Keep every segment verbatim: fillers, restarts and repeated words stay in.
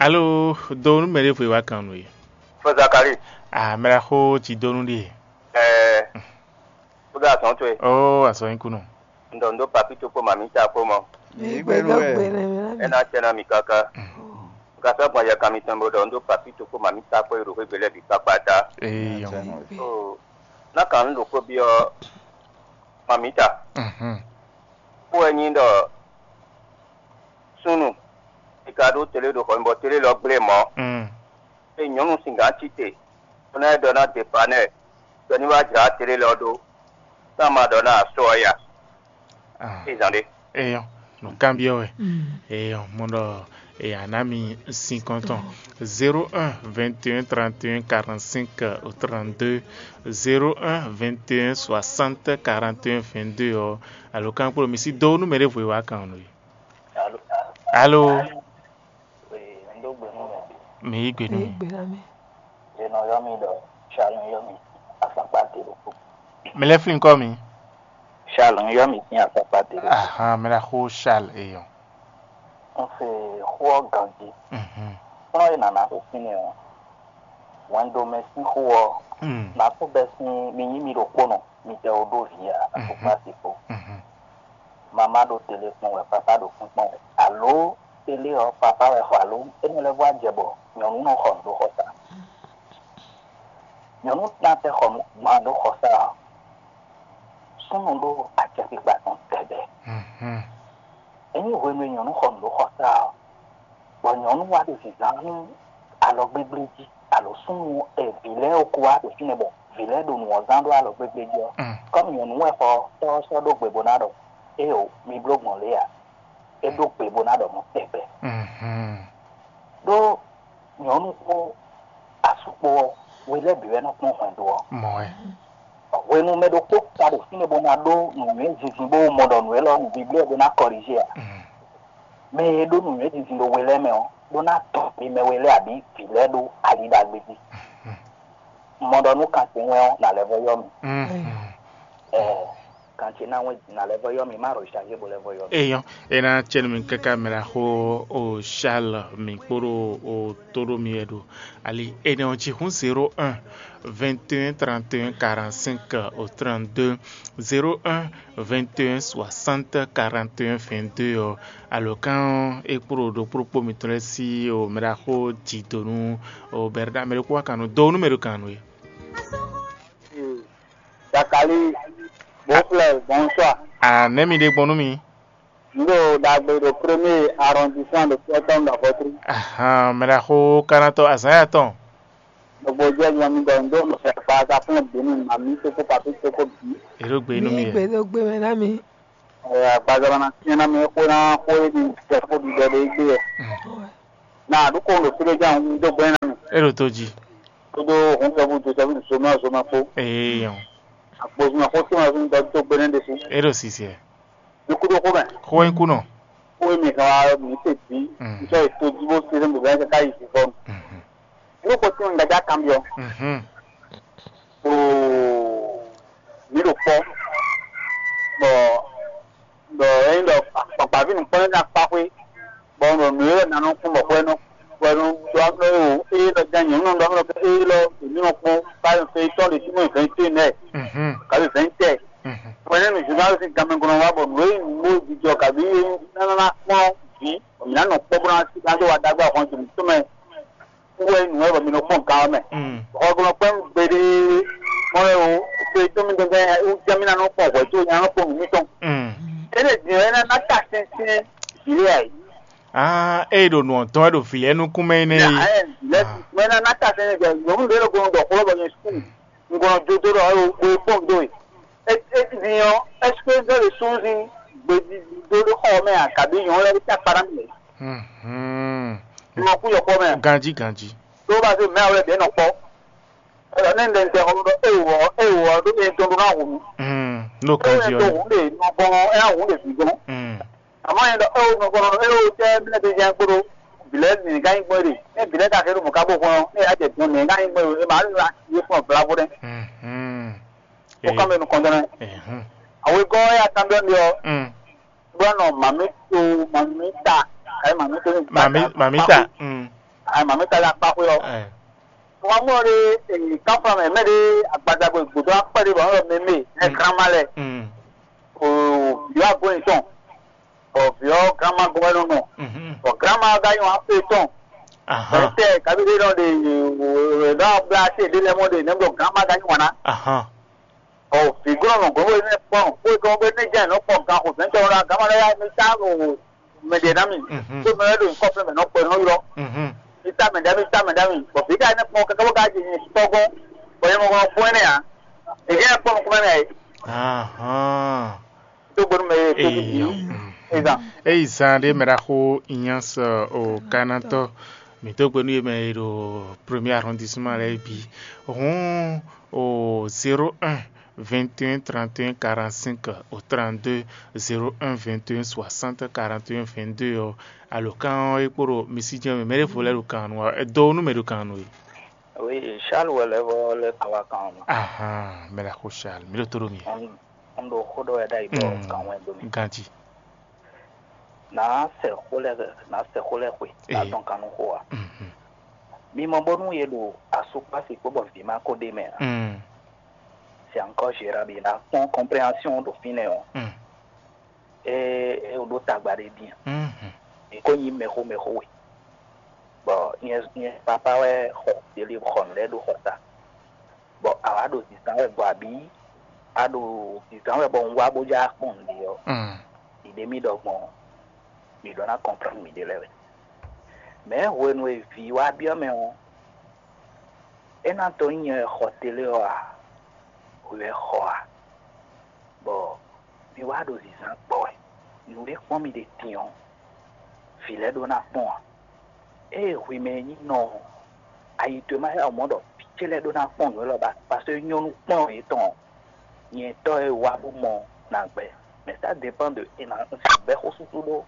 Alo, do nú mɛ ɖěvo e wá kan nú we. Fɔ Zakali. Ah, mɛ ɖaxó ci dó nú ɖíe. Ɛɛ, kúdó azɔn towe. Ó, azɔn nyí kúnɔ. Un ɖɔ un ɖó papi tó kpó mami ta kpó mɔ. Yě gbé nú wɛ. É ná tɛ ná mi káká. Un ka sɔ́ gbɔn yɛ kan mitɔn bó ɖɔ un ɖó papi tó kpó mami ta kpó e ɖo xwé gbe lɛ́ɛ bǐ kpákpá ta. Eyɔn. Ó, ná kan un ɖo xó byɔ́ mami ta. Mhm. Kpó wɛ nyí ɖɔ súnnu e ka ɖó télé ɖo xɔ nyi bɔ télé lɔ gblé mɔ̌. Mm. Ée nyɔ̌nu sin gǎn cí te, bó ná yi ɖɔ ná Depanɛ́ɛ ɖɔ ní wá jlǎ télé lɔ ɖó, ná ma ɖɔ ná asɔ ɔ́ ya. Ah. Ézan ɖé. Eyɔn, nǔkanbyɔ́ wɛ. Eyɔn, mo ɖɔ èyǎ ná mi sin kɔntɔn. Zéro un, vingt et un, trente et un, quarante-cinq, trente-deux, zéro un, vingt et un, soixante, quarante et un, vingt-deux ɔ́, alo kan kplɔ́n mi sí dó nú mɛ ɖěvo e wá kan nú we. Alo. Alo. Ee, un dó gbe nú mɛ. Mi yí gbe nú mi. Gbe ná mɛ. È nɔ ylɔ́ mì ɖɔ Charles, un ylɔ́ mì afɔkpa te ɖokpó. Mi lɛ́ flín kɔ́ mi. Charles, un ylɔ́ mì sín afɔkpa te ɖokpó. Ahan, mɛ ɖaxó Charles eyɔn. Un se xó ɔ́ ganjí. Mhm. Kplɔ́n e nǎ ná xo fínɛ́ ɔ́, hwɛndo mɛ sín xó ɔ́, Mm. nǎ kó bɛ́ sín mi nyí mi ɖokpónɔ, mi tɛ wo ɖó vǐ ǎ, Mhm. afɔkpa te kpó. Mhm. Mama ɖo tele kpɔ́n wɛ, papa ɖo kpínkpɔ́n wɛ. Alo tele ɔ́, papa wɛ xɔ alo énɛ́ lɛ́ɛ vɔ jɛ bɔ nyɔ̌nu nɔ xɔ nǔ ɖó xɔsa. Nyɔ̌nu tán tɛ xɔ nǔ gban ɖó xɔsa ɔ́, súnnu ɖó acɛkpikpa tɔn tɛgbɛ. Mhm. Ényí hwenu e nyɔ̌nu xɔ nǔ ɖó xɔsa ɔ́, bɔ nyɔ̌nu wá ɖo zǐnzán nú alɔ gbégbléjí, alo súnnu e vǐ lɛ́ɛ ko wá ɖo fínɛ́ bɔ vǐ lɛ́ɛ ɖo nǔ ɔ́ zán ɖó alɔ gbégbléjí ɔ́, Mm. kɔ́ nyɔ̌nu wɛ xɔ tɔ́ ɔ́ sɔ́ ɖó gbe bó ná ɖɔ, éeǒ, mi bló gbɔn lě ǎ. É ɖó gbe bó ná ɖɔ mɔ̌ tɛgbɛ. Mhm. Ɖó nyɔ̌nu kpó asú kpó ɔ́, we lɛ́ɛ bǐ wɛ nɔ kpɔ́n hwɛndo ɔ́. Mɔ̌ wɛ. Hwenu mɛ ɖokpó ka ɖo fínɛ́ bó ná ɖó nǔnywɛ́ zinzin bó mɔ ɖɔ nǔ élɔ́ nǔ biblɛ́ bó ná kɔlízé ǎ. Mhm. Mɛ e ɖó nǔnywɛ́ zinzin ɖo we lɛ́ɛ mɛ ɔ́, bó ná tɔn mi mɛ we lɛ́ɛ abǐ vǐ lɛ́ɛ ɖó ali ɖagbe jí. Mhm. Un mɔ ɖɔ nú kan ce wɛn ɔ́, nǎ lɛ́ vɔ ylɔ́ mi. Mhm. Ɛɛ, kan ce ná wɛn nǎ lɛ́ vɔ ylɔ́ mi, má ɖo shangé bó lɛ́ vɔ ylɔ́ mi. Eyɔn, é ná cɛ́ nú mi káká mɛ ɖaxó o Charles mi kpóɖó o tóɖó mi wɛ ɖo ali énɛ́ ɔ́ jí hǔn zéro un, vingt et un, trente et un, quarante-cinq, au trente-deux, zéro un, vingt et un, soixante, quarante et un, vingt-deux ɔ́, alɔ̌kan ɔ́, é kpló ɖokpó ɖokpó mitɔn lɛ́ɛ sí o mɛ ɖaxó jǐ dó nú o Bɛrɖa mɛ ɖokpó wá kan nú dó nú mɛ ɖo kan nú é. Zakali, Boflɛ, bonsoir. Ah, nɛ̌ mi ɖe gbɔn nú mi? Un ɖo ɖagbe ɖo premier arrondissement ɖo Kpɔtɔn ɖo Avɔtru. Ahan, mɛ ɖaxó kanatɔ azǎn ya tɔn. Gbogbo jẹ́ yan mi ɖɔ un ɖo mɛ agbaza fún bǐ mi ma mi soko papi soko bǐ. È ɖo gbe nú mi. Gbe ɖo gbe mɛ ná mi. Ɛ, agbaza ma na tiɲɛ ná mi xó ná xó e mi jɛ xó ɖiɖɔ ɖe gbé yɛ. Mm. Na ɖo ko ɖo fúɖé ján un dó gbɛn ná mi. É ɖo tó jí. Kódó hun sɔ́bù tó sɔ́bù zomɛ zomɛ kpó. Eyɔn. Agbozumɛ xó tó ma zun dɔ dó gbɛn ɖe sí. É ɖo sisi ɛ. Mi kú ɖó xó mɛ. Xó é kú nɔ. Xó e mi hɛn wá mi se bí. Mm. Nsɔ ètò jí bó se bɛn kaka yi fífɔ. Mhm. Yóò kó tún un gbɛdá kan byɔ. Mhm. Oo, mi ɖo kpɔ. Bɔ bɔ é nyí ɖɔ akpakpaví nukpɔ́n ná kpá xwé, bɔ un ɖo nǔ e nǎ nɔ kún bɔ xwɛ nɔ xwɛ nɔ ɖɔ amlɔ e o, eye lɔ jɛ nyɔ̌nu nɔ ɖɔ amlɔ ke eye lɔ èmi nɔ kpɔ́n báyọ̀ fe tɔn ɖe tínú vɛ̌ntɛ́ nɛ, Mhm. kabi vɛ̌ntɛ́. Mhm. Xwɛ nɛ́ nǔ zǐnzán sín ganmɛ gɔ́n wá bɔ nǔ e nyí nǔ bó jijɔ kabi nánà kpɔ́n vǐ, bɔ mǐ ná nɔ kpɔ́ bó ná sí ná dó wa ɖagbe ahwan jǐnú tɔn mɛ. Wɛ nǔ wɛ bɔ mi nɔ kpɔn gan ɔ́ mɛ. Mm. Xɔgbɔnɔ kpɛn gbeɖé mɔ wɛ o, to e tó mi dɔn gɛn o jɛ mi na nɔ kpɔn hwɛ tó nya nɔ kpɔn nǔ mitɔn. Mm. Ene din ɛ na na ta sɛnsɛn vile ayi. Ah, e ɖo nɔ dɔn e ɖo vile nukún mɛ ne yi. Ɛ lɛ mɛ na na ta sɛnsɛn vile nyɔnu ɖe ɖo gbɔn dɔ xlɔ bɔ nyɛ sukuu. Ngɔnɔ jodo ɖɔ o o kpɔn do e. E e din ɔ, est-ce que ɖɔ le sunzin gbedi do ɖo xɔ mɛ a kabi nyɔnu lɛ ta kpara mi. Mhm. Nɔ kú yɔ kpɔ mɛ. Ganji ganji. Tó bá ṣe mɛ àwọn ẹgbẹ́ náà pọ̀. Ẹ̀rọ ní ndẹ̀ ndẹ̀ ọ̀rọ̀ ewọ̀ ewọ̀ ló ní tó ná wù mí. Mm, ló kàn jí ọ. Ewọ̀ tó wù lè nọ gbọ́n ẹ̀ wù lè fi gbọ́n. Mm. Àmọ́ yẹn lọ ewọ̀ nọ gbọ́n ewọ̀ tẹ́ mílẹ̀ tó yẹn gbọ́dọ̀ bìlẹ̀ nìyẹn ká yín gbọ́n rè ní bìlẹ̀ ká kéré mọ̀ ká bó gbọ́n ní ìyá jẹ̀ gbọ́n nìyẹn ká yín gbọ́n rè é màá ní ra yé fún ọ̀bùrà bó dẹ́. Mhm. Ó kàn mẹ́nu kàn dán náà. Mhm. Àwọn ikọ́ ẹ̀ yà tán bẹ́ẹ̀ mi ọ. Mm. Bó nọ màmí tó màmí ta ẹ̀ màmí tó ní. Màmí màmí ta. Mm. Ayi mami ka ɖe akpa xwé ɔ́. Ɛ. Wọ́n mú ɔ́ ɖe èyí kánfà mɛ mɛ ɖe agbadagbe gbòdó akpẹ́ ɖé bɔ wọ́n lɔ mɛ mɛ ɛ granma lɛ. Mm. O vǐ wa gbóni tɔn. Bɔ vǐ ɔ́ granma gɔ́mɛnú nɔ. Mhm. Bɔ granma ɔ́ ka nyí wan fé tɔn. Ahan. Bɛtɛ kabi ɖe nɔ ɖe nɔ bla se ɖe lɛ mɔ ɖe nɛ bɔ granma ka nyí wan ná. Ahan. Ɔ vǐglɔ́nɔ gbɔn bó ne kpɔn bó gbɔn bó ne jɛ nɔ kpɔn gan xo fɛn tɔn la gama lɛ ya mi ta o mɛ ɖe na mi. Mhm. Bó mɛ ɖo nkɔ fɛn mɛ nɔ kpɛ nɔ ylɔ. Mhm. Mi ta mɛ ɖe mi ta mɛ ɖe mi bɔ fi ka ne kpɔn kaka bó ka jɛ nyi tɔgɔn bɔ yɛ mɔ kɔnɔ kpɔn ne ya. Èyí yɛ kpɔn kpɔn ne ya. Ahan. Tó gbɔn mɛ tó bi Eyo. Ezan. Eyi zan ɖé mɛ ɖaxó Ignace o kanatɔ. Mi tó gbɔn nú yé mɛ e ɖo premier arrondissement lɛ́ɛ bí. Hɔn o zéro un vingt et un trente et un quarante-cinq au trente-deux zéro un vingt et un soixante quarante et un vingt-deux ɔ́, alǒkan ɔ́ é kpo ɖo mi sí jɛ́n mɛ, mɛ ɖěvo lɛ́ɛ ɖo kan nu ɔ́, é dó nú mɛ ɖo kan nu é. Oui, Charles wɛ lɛ́ vɔ lɛ́ kan wá kan ɔ́ mɛ. Ahan, mɛ ɖaxó Charles, mi ɖo tó ɖo mi. Un ɖo xó ɖɔ wɛ ɖ'ayǐ bɔ kan wɛ dó mi. Ganji. Nǎ sɛ xó lɛ́ɛ nǎ sɛ xó lɛ́ɛ xwe, nǎ dɔn kan nú xó ǎ. Mhm. Mi mɔ bónú yě ɖo asukpási kpó bɔ vǐ ma ko ɖ'é mɛ ǎ. Mm. C'est encore gérable, nǎ kpɔ́n compréhension ɖo fínɛ́ ɔ́. Mm. É é ɖó tagba ɖé din. Mhm. È ko nyí mɛxó mɛxó we. Bɔ nyɛ nyɛ papa wɛ xɔ délé xɔ nǔ lɛ́ɛ ɖó xɔ ta. Bɔ a wǎ ɖo zǐnzán wɛ gbɔ abǐ a ɖo zǐnzán wɛ bɔ un wá bó já kpɔ́n nǔɖé ɔ́, mm, ɖiɖe mì ɖɔ gbɔn mǐ ɖó ná kɔnplán mǐɖée lɛ́ɛ wɛ. Mɛ̌ hwenu e vǐ wá byɔ́ mɛ ɔ́, é ná dó nyí nyɛ wɛ xɔ télé ɔ́ a? Hwi wɛ xɔ a? Bɔ mi wá ɖo zǐnzán gbɔ wɛ. Nǔɖé kpɔ́n mi ɖe din ɔ́, vǐ lɛ́ɛ ɖó ná kpɔ́n ǎ. Ée hwi mɛ e nyí nɔ ɔ́, ayi towe ma yá wǔ mɔ ɖɔ vǐ ce lɛ́ɛ ɖó ná kpɔ́n nǔ élɔ́ ba, paseke nyɔ́nú kplɔ́n yětɔn ɔ́, nyɛ tɔ́ e wá bó mɔ ná gbɛ. Mais ça dépend de e ná un sixú bɛ́ xó súsú ɖó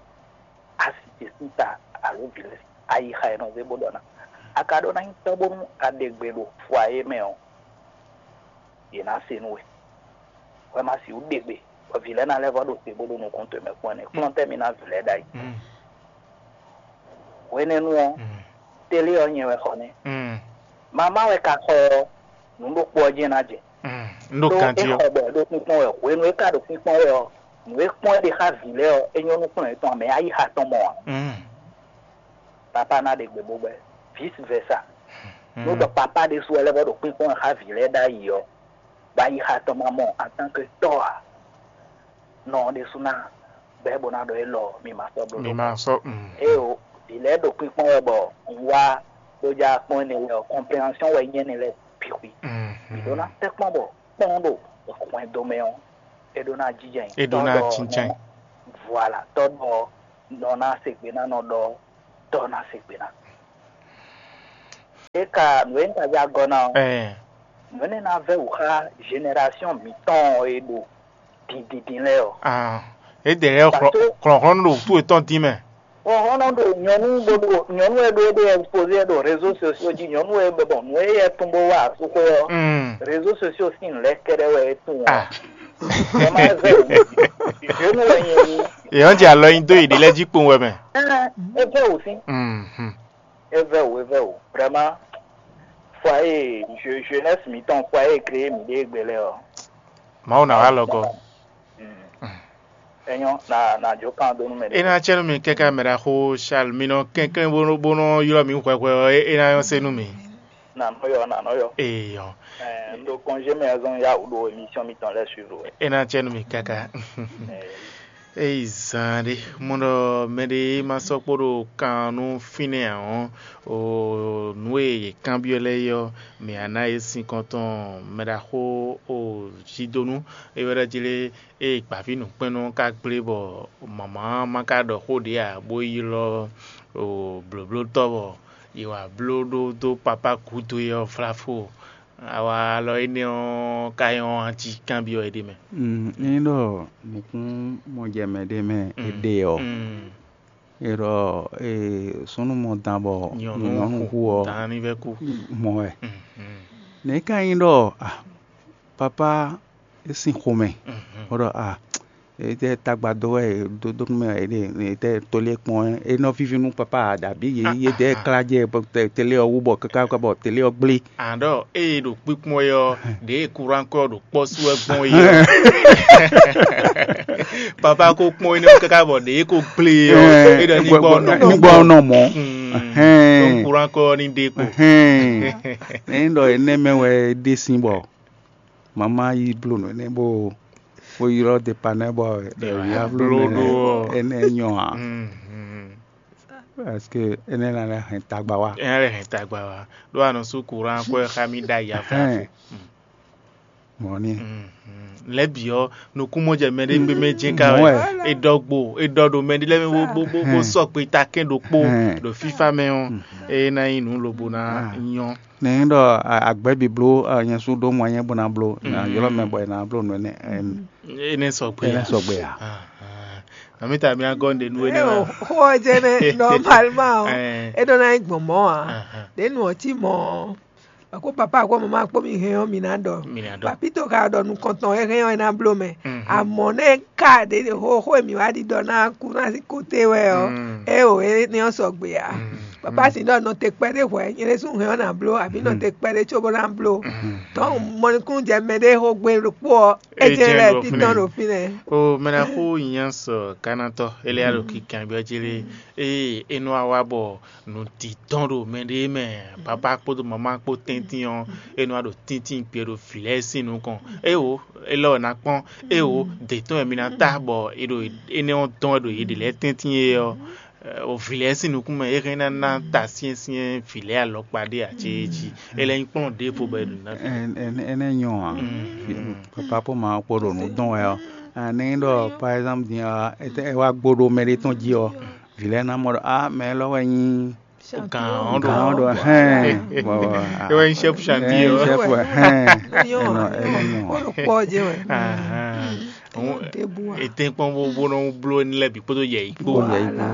asi ce sín ta alo vǐ lɛ́ɛ sín ayixa e nɔ zé bó ɖɔ ná. A ka ɖó ná nyí tɔ́ bónú a ɖe gbe ɖo fwa é mɛ ɔ́, yě ná se nú we. Hwɛ ma sixú ɖe gbe, bɔ vǐ lɛ́ɛ ná lɛ́ vɔ ɖo te bó ɖo nukún towe mɛ kpɔ́n ɛnɛ. Kplɔ́n tɛ́ mi ná vǐ lɛ́ɛ ɖ'ayǐ. Hwenɛ́nu ɔ́, télé ɔ́ nyɛ wɛ xɔ nɛ́. Mamá wɛ ka xɔ ɔ́, nǔ ɖokpó ɔ́ jɛ́n ná jɛ. Un ɖo Ɖó é ganjí ɔ́. Xɔ bɔ é ɖo kpínkpɔ́n wɛ. Hwenu e é ka ɖo kpínkpɔ́n wɛ ɔ́, nǔ e kpɔ́n é ɖe xá vǐ lɛ́ɛ ɔ́, é nyɔ́ nú kplɔ́n yětɔn ǎ, mɛ ayixa tɔn mɔ ǎ. Papá ná ɖe gbe bó gbɛ́, vice versa. Nú ɖɔ papá ɖésú wɛ lɛ́ vɔ ɖo kpínkpɔ́n wɛ xá vǐ lɛ́ɛ ɖ'ayǐ ɔ́, bɔ ayixa tɔn ma mɔ en tant que tɔ́ ǎ. Nɔ ɔ́ ɖésú ná bɛ́ bó ná ɖɔ élɔ́ mi ma sɔ́ bló. Mi ma sɔ́. Éeǒ, vǐ lɛ́ɛ ɖo kpínkpɔ́n wɛ bɔ un wá bó já kpɔ́n énɛ́ lɛ́ɛ ɔ́, compréhension wɛ nyí énɛ́ lɛ́ɛ bǐ xwí. Mǐ ɖó ná tɛ́nkpɔ́n bɔ kpɔ́n ɖo hwɛndo mɛ ɔ́, é ɖó ná jínjɛ́n. É ɖó ná jínjɛ́n. Voilà, tɔ́ ɖɔ nɔ ná se gbe ná nɔ ɖɔ tɔ́ ná se gbe ná. É ka nǔ e un ka já gɔ́ ná ɔ́, nǔ énɛ́ ná vɛ́ wǔ xá génération mǐtɔn e ɖo dindindin lɛ́ɛ ɔ́. Ah, é dɛ lɛ́ɛ xlɔ̌nhlɔ́n ɖo wútu yětɔn dín mɛ. Xlɔ́nhlɔ́n ɖo nyɔ̌nu bó ɖo nyɔ̌nu e ɖó éɖée exposé ɖo réseau sociaux jí, nyɔ̌nu e bɔ nǔ e yɛ tún bó wá asúxwé ɔ́, réseau sociaux sín lɛ̌ kɛ́ɖɛ́ wɛ é tún ɔ́. Ah. Ɛ má zɛ o. Nyɔ̌nu wɛ nyɛ nyí. Èèyàn jẹ àlɔ nyi dó ìdí lɛ́ jí kpowun wɛ mɛ. Ɛ ɛ vɛ wò sín. Mhm. É vɛ́ wǔ, é vɛ́ wǔ. Vraiment, foyer, je- jeunesse mǐtɔn, foyer créé mǐ ɖe égbé lɛ́ɛ ɔ́. Mawu ná wá lɔgɔ. Mm. É nyɔ́, na na jó kan dó nú mɛ. É ná cɛ nú mi kɛ́kɛ́ mɛ ɖaxó Charles, mi nɔ kɛnklɛ́n bó nɔ bó nɔ ylɔ́ mi hwɛhwɛ ɔ́, é ná nyɔ́ se nú mi. Nà nɔ yɔ, nà nɔ yɔ. Eyɔ. Ɛ, un ɖo congé mɛ zɔn ya wǔ ɖo émission mǐtɔn lɛ́ɛ suivre wɛ. É ná cɛ nú mi káká. Ɛ, Eyi zan ɖé mɔ ɖɔ mɛɖé ma sɔ́ kpó ɖo kan nú fínɛ́ ǎ ɔ́, o nǔ e yě kanbyɔ́ lɛ́ɛ é ɔ́, mǐ á ná yě sinkɔn tɔn mɛ ɖaxó o Zidonu é wɛ ɖɔ jí lé, ée gbǎví nǔkpɛ́nnɔ ka gblé bɔ mama ma ka ɖɔ xó ɖě ǎ, bó yi ylɔ́ o blǒblótɔ́ bɔ è wǎ bló ɖó dó papá gǔdo é ɔ́ vláfó. Awa alɔ énɛ́ ɔ́ ka nyɔ́ ɔ́ jí kanbyɔ́ éɖée mɛ. Mm, ényí ɖɔ nǔkún mɔjɛmɛ ɖé mɛ é ɖe ɔ́, é ɖɔ súnnu mɔ dan bɔ nyɔ̌nu hu ɔ́, mɔ wɛ. Nɛ̌ ka nyí ɖɔ ah, papá é sín xomɛ, bó ɖɔ ah, Étɛ́ tagba dó wɛ è dó dó nú mɛ wɛ è ɖe? Étɛ́ tolé kpɔ́n wɛ? É nɔ víví nú papá ǎ, ɖabǐ yě yí édɛ́ klá jɛ télé ɔ́ wú bɔ káká bɔ télé ɔ́ gblé. Àná ɖɔ ée ɖo kpíkpɔ́n é ɔ́, ɖěe kuránkɔ ɖo kpɔ́ sú wɛ gbɔn é ɔ́, papá ko kpɔ́n énɛ́ káká bɔ ɖěe ko gblé é ɔ́, é ɖɔ ní gbɔ nɔ ní gbɔ nɔ mɔ. Hɛn. Kuránkɔ ɔ́ ní ɖe kpo. Hɛn. Ní ɖɔ énɛ́ mɛ wɛ é ɖe sín bɔ mama yi bló nǔ énɛ́ bó bó ylɔ́ depanɛ́ bɔ ɖɛ̌vǐ bló ɖó ɔ́. Énɛ́ nyɔ ǎ. Parce que énɛ́ ná lɛ́ hɛn tagba wá. Énɛ́ lɛ́ hɛn tagba wá. Ɖó a nɔ sú kuránkɔ ɛ xá mì ɖ'ayǐ afáfó. Mɔ̌ ní. Lɛ̌ bǐ ɔ́, nukúnmɔjɛ mɛɖé gbé mɛ jɛ́n ka wɛ. È ɖɔ gbo, è ɖɔ ɖo mɛɖé lɛ́ɛ mɛ bó bó bó sɔgbe takɛn ɖokpó ɖo fífá mɛ ɔ́, é ná nyí nǔ lobo ná nyɔ́. Nɛ̌ ɖɔ agbɛ̌ bǐ bló nyɛ sú ɖó mɔ nyɛ bó ná bló ná ylɔ́ mɛ bɔ è nǎ bló nǔ énɛ́? Énɛ́ sɔgbe Énɛ́ ǎ. Sɔgbe ǎ. Nɔmítà mi ná gɔ́ ɖe nú énɛ́ wɛ. Xó ɔ́ jɛ́n nɛ́, nɔmalma ɔ́, é ɖó ná nyí gbɔn mɔ̌ ǎ. Ɖě nu ɔ́ cí mɔ̌ ɔ́, bɔ kó papá kpó mama kpó mi hɛn ɔ́, mi ná ɖɔ. Mi ná ɖɔ. Papito ka ɖɔ nukɔntɔn e hɛn ɔ́, é ná bló mɛ. Amɔ̌ nɛ́ ka ɖě xó xó e mǐ wá ɖiɖɔ ná kú ná sí kóté wɛ ɔ́, é o énɛ́ ɔ́ sɔgbe ǎ. Papá si ɖɔ nɔ te kpɛɖé hwɛ̌, nyɛ ɖésú hɛn ɔ́ ná bló, abǐ nɔ te kpɛɖé cóbó ná bló. Tɔ́ mɔnukúnnú jɛ mɛɖé xó gbé ɖokpó ɔ́, é jɛ́n lɛ́ títɔn ɖo fínɛ́. O mɛ ná xó nyanya sɔ Kanatɔ, éliá ɖo kikanbyɔ́ jí lé. Ée é nɔ wá wá bɔ nǔ dǐdɔn ɖo mɛɖé mɛ, papá kpódó mamá kpó tɛ́ntin ɔ́, é nɔ wá ɖo tíntín gbe ɖo vǐ lɛ́ɛ sín nukɔn. Éwo, élɔ́ wɛ ná kpɔ́n. Éwo, dě tɔn wɛ mi ná ta bɔ è ɖo énɛ́ ɔ́ dɔn wɛ ɖo yě ɖě lɛ́ɛ tɛ́ntin é ɔ́, o vǐ lɛ́ɛ sín nukún mɛ é hɛn ná ná ta syɛ́nsyɛ́n vǐ lɛ́ɛ alɔkpa ɖé ǎ céé jí. É lɛ́ nyí kplɔ́n ɖěvo bɔ è ɖǒ ná. Énɛ́ nyɔ ǎ. Papá kpó mamá kpó ɖo nǔ dɔn wɛ ɔ́, ényí ɖɔ par exemple din ɔ́, é wá gbo ɖo mɛɖé tɔn jí ɔ́, vǐ lɛ́ɛ ná mɔ ɖɔ á mɛ élɔ́ wɛ nyí gǎn ɔ́ ɖo hɛn. É wɛ nyí chef chantier ɔ́. Chef hɛn. Nyɔ Enɔ, enɔ nyɔ. Kpɔ́ jɛ wɛ. Ahán. Ɖěbǔ a. Ètè kpɔ́n bó bó nɔ bló ní lɛ́ bǐ kpódó yɛ yí kpó. Kpódó yɛ yí kpó.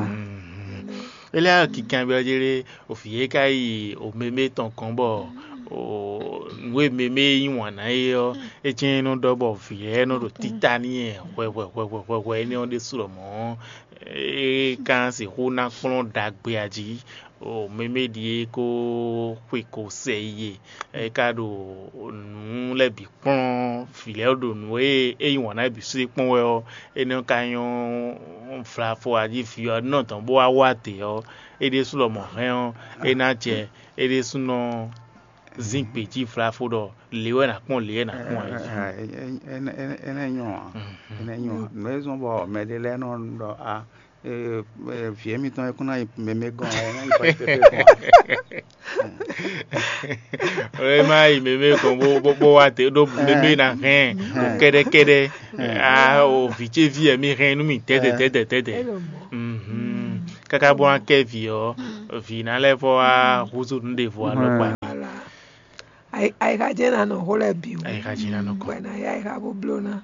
Éliá kikan byɔ́ jé ɖé, òfǐ é ka yi òmemé tɔn kɔn bɔ nǔ e mɛ mɛ e yí wǎn ná é ɔ́, é jɛ́n é nɔ ɖɔ bɔ vǐ lɛ́ɛ nɔ ɖo títá n'i wɛ hwɛhwɛhwɛhwɛ énɛ́ ɔ́ ɖésú lɔmɔ̌ é ka sixú ná kplɔ́n ɖagbe a jí. Mɛ mɛ ɖíe kó xwe ko sɛ yi e é ka ɖo nǔ lɛ́ɛ bǐ kplɔ́n vǐ lɛ́ɛ ɖo nǔ e é yí wǎn ná bǐ sú é kpɔ́n wɛ ɔ́, énɛ́ ka nyɔ́ vlafɔ a jí vǐ ɔ́ nɔ dɔn bó wá wá dě ɔ́, é ɖésú lɔmɔ̌ hɛn ɔ́, é ná jɛ é ɖésúnɔ zín gbějí vlafo ɖɔ lě wɛ nǎ kpɔ́n lě wɛ nǎ kpɔ́n ɛ jí. Énɛ́ nyɔ ǎ. Énɛ́ nyɔ ǎ. Nǔ e zɔ́n bɔ mɛɖé lɛ́ɛ nɔ ɖɔ a vǐ émítɔn é kún ná yi mɛmɛ gɔ́n ɛ ná yi pɛtɛtɛ gɔ́n. É má yi mɛmɛ gɔ́n bó bó bó wá te ɖó mɛmɛ ná hɛn o kɛ́ɖɛ́kɛ́ɖɛ́ a o vǐ ce ví ɛ mi hɛn nú mi tɛ́tɛ tɛ́tɛ tɛ́tɛ. Káká bó ná kɛ vǐ ɔ́, vǐ ná lɛ́ vɔ wá húzú nǔ ɖěvo alɔkpa. Ayixa jɛ́n ná nɔ xó lɛ́ɛ bǐ wú. Ayixa jɛ́n ná nɔ kɔ. Bɔ è nǎ yá ayixa bó bló ná.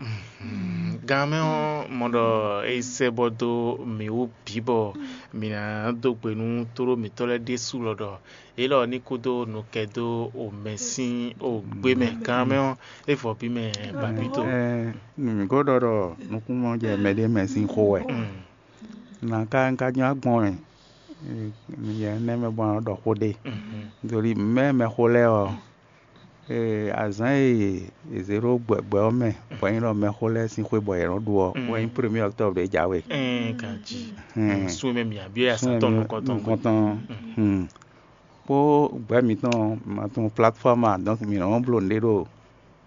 Gan mɛ ɔ́, mɔ ɖɔ é sɛ bɔ dó mǐ wú bǐ bɔ mǐ ná dó gbe nú tóɖó mǐtɔn lɛ́ɛ ɖésú lɔ ɖɔ yě lɔ ní kúdó nukɛ dó omɛ sín ogbé mɛ. Gan mɛ ɔ́, é vɔ bí mɛ bapito. Nǔ mǐ ko ɖɔ ɖɔ nukúnnú jɛ mɛɖé mɛ sín xó wɛ. Nǎ ka un ka jɔ́n agbɔn wɛ, yɛ énɛ́ mɛ bɔ nǎ ɖɔ xó ɖé. Doli mɛ mɛxó lɛ́ɛ ɔ́, azǎn e è zě ɖó gbɛgbɛ ɔ́ mɛ bɔ é nyí ɖɔ mɛxó lɛ́ɛ sín xwé bɔ yě nɔ́ ɖu ɔ́, wɛ nyí premier octobre ɖě jǎwe. Ɛɛ ganji. Sun mɛ mǐ abyɔ́ ya Sun santɔ mɛ nukɔntɔn gbe. Nukɔntɔn. Kpó gbɛ̌ mǐtɔn ma tunwun plateforme a, donc mǐ nɔ́ bló nǔɖé ɖo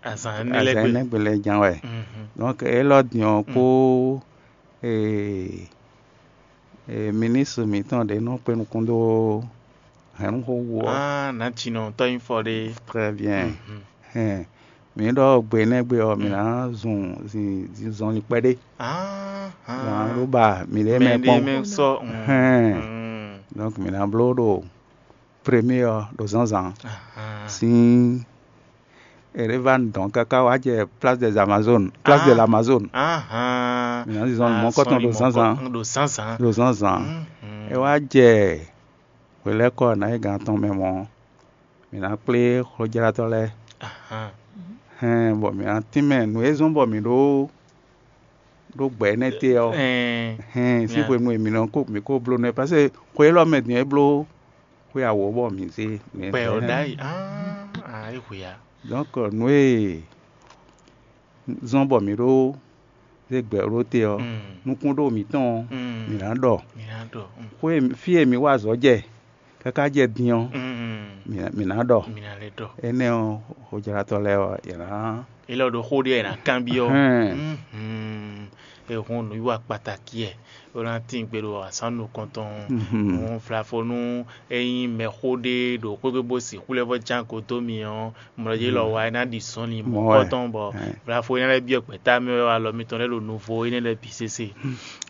Azǎn ní lɛ́ azǎn gbe. Nɛ́ gbe lɛ́ɛ ján wɛ. Donc élɔ́ din ɔ́ kpó ee, ee, ministre mǐtɔn ɖě nɔ kpé nukún dó hɛ̌nnúxó wú ɔ́. Ah, nǎ cinɔ tɔ́ nyí fɔ ɖé. Très bien. Hɛn, mǐ ɖɔ gbe énɛ́ gbe ɔ́, mǐ ná zun zin zɔnlin kpɛɖé. Ah, ah. Zan ɖó ba mǐ ɖě mɛ Mɛ ɖé kpɔ́n. Mɛ sɔ. Hɛn. Donc mǐ ná bló ɖo premier ɔ́ ɖo zǎnzǎn. Sín Erevan dɔn káká wá jɛ Place des Amazones, Place de l'Amazone. Mǐ ná zizɔn mɔ̌kɔtɔn ɖo zǎnzǎn. Ɖo zǎnzǎn. Ɖo zǎnzǎn. É wá jɛ hwelɛ́kɔ ná yi gan atɔn mɛ mɔ̌, mǐ ná kplé xójlátɔ́ lɛ́ɛ. Hɛn bɔ mǐ ná tínmɛ nǔ e zɔ́n bɔ mǐ ɖó ɖó gbɛ énɛ́ te ɔ́, hɛn sín hwenu e mǐ nɔ kó mǐ kó bló nɛ́, parce que xwe élɔ́ mɛ din é bló xwe awǒ bɔ mǐ zé mǐ Kpɛ ɔ ɖ'ayǐ. Ah, ah, é hwe ya. Donc nǔ e zɔ́n bɔ mǐ ɖó zé gbɛ ɖó te ɔ́, nukúnɖó mǐtɔn ɔ́, mǐ ná ɖɔ. Mǐ ná ɖɔ. Mm. Xwe e- fí e mǐ wa azɔ̌ jɛ káká jɛ din ɔ́, Mm. mǐ ná- mǐ ná ɖɔ. Mǐ ná lɛ́ ɖɔ. Énɛ́ ɔ́, xojlátɔ́ lɛ́ɛ ɔ́, yě ná Ilé ɔ́ ɖo xó ɖé ná kanbyɔ́. Hɛn. Mhm. Ehun nǔwiwa kpatakí ɛ. Ó ná tín gbe ɖo asán nukɔntɔn. Mhm. Nú vlafonu é nyí mɛxó ɖé ɖo xwéxwé bó sixú lɛ́ vɔ ján go dó mi ɔ́, mlɔjí lɔ wa é ná ɖi zɔnlin Mɔ wɛ. Mɔ̌kɔtɔn bɔ vlafo énɛ́ lɛ́ɛ byɔ́ gbɛ̌ta mɛ wɛ alɔ mitɔn lɛ́ɛ ɖo nuvo énɛ́ lɛ́ɛ bǐ sésé.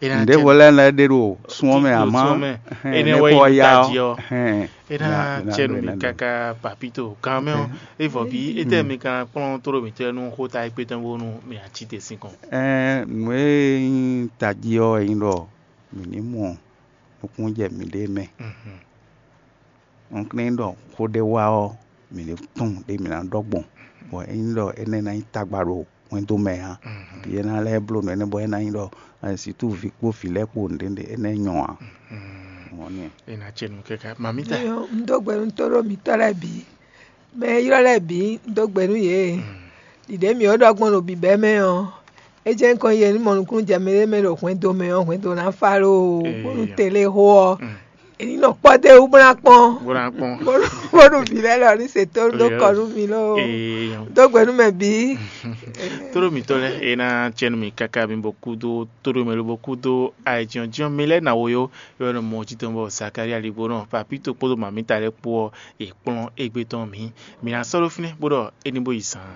É ná Nǔɖěvo lɛ́ɛ lɛ́ ɖé ɖo sún ɔ́ mɛ, amá Sɔ́ mɛ. Énɛ́ wɛ nyí tají ɔ́. Hɛn. É ná cɛ nú mi káká papito kan mɛ ɔ́. É vɔ bí étɛ́ mi ka kplɔ́n tóɖo mǐtɔn nú xóta ékpé tɔn bónú mi ná cí te sín kɔn. Ɛɛ, nǔ e nyí tají ɔ́ wɛ nyí ɖɔ mǐ ní mɔ nukúnnú jɛ mǐɖée mɛ. Mhm. Un ka ná ɖɔ xó ɖé wá ɔ́, mǐ ní tunwun ɖě mǐ ná ɖɔ gbɔn, bɔ é nyí ɖɔ énɛ́ ná nyí tagba ɖo hwɛndo mɛ ǎ. Bǐ é ná lɛ́ bló nǔ énɛ́ bɔ é ná nyí ɖɔ sixú vǐ kpó vǐ lɛ́ɛ kpó nǔɖé énɛ́ nyɔ ǎ. Mɔ̌ nɛ́. É ná cɛ nú kɛ́kɛ́. Mamita. Nyɔ, un dó gbe nú tóɖó mǐtɔn lɛ́ɛ bǐ. Mɛ e ylɔ́ lɛ́ɛ bǐ, un dó gbe nú yě. Ɖiɖě mǐ ó ɖɔ gbɔn ɖo bǐbɛ́ mɛ ɔ́, é jɛ́n kɔn yɛ ní mɔ nukúnnú jɛ mɛ ɖé mɛ ɖo hwɛndo mɛ ɔ́, hwɛndo ná fá loo, bónú tele xó ɔ́, è ní nɔ kpɔ́ dó wú bó ná kpɔ́n. Bó ná kpɔ́n. Bónú bónú vǐ lɛ́ɛ lɔ ní se tó dó kɔ nú mi loo. Dó gbe nú mɛ bǐ. Tóɖó mǐtɔn lɛ́ɛ, é ná cɛ nú mi káká mi bɔ kúdó tóɖó mɛ lóbó kúdó ayǐjínjɔ́n mi lɛ́ɛ ná wo yó, é wɛ nɔ mɔ jí tɔn bɔ Zakaria ligbó nɔ papito kpódó mamita lɛ́ɛ kpó ɔ́, è kplɔ́n égbé tɔn mǐ. Mǐ ná sɔ́ ɖó fínɛ́ bó ɖɔ é ní bó yi zaan.